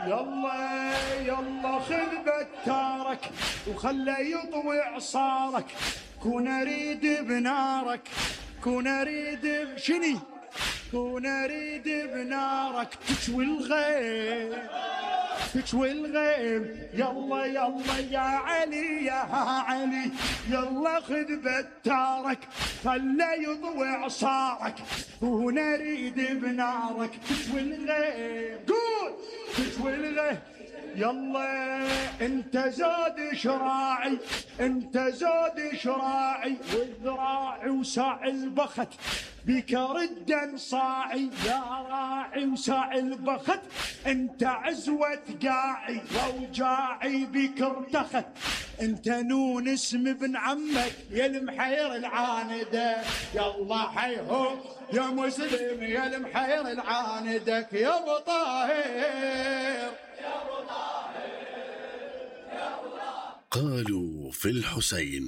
يلا يلا خذ بتارك وخلى يطوي عصارك، كون اريد بنارك، كون اريد شني، كون اريد بنارك تشوي الغيم، تشوي الغيم. يلا يلا يا علي يا علي، يلا خذ بتارك خلى يضوي عصارك، كون اريد بنارك تشوي الغيم. قول تشوي الغيم. يلا انت زاد شراعي، انت زاد شراعي، والذراعي وساع البخت بك ردا صاعي، يا راعي وساع البخت انت عزوة قاعي، واوجاعي بك ارتخت. انت نون اسم ابن عمك يا المحير العاندة، يلا حيهم يا مسلم يا المحير العاندك يا ابو طاهر. قالوا في الحسين.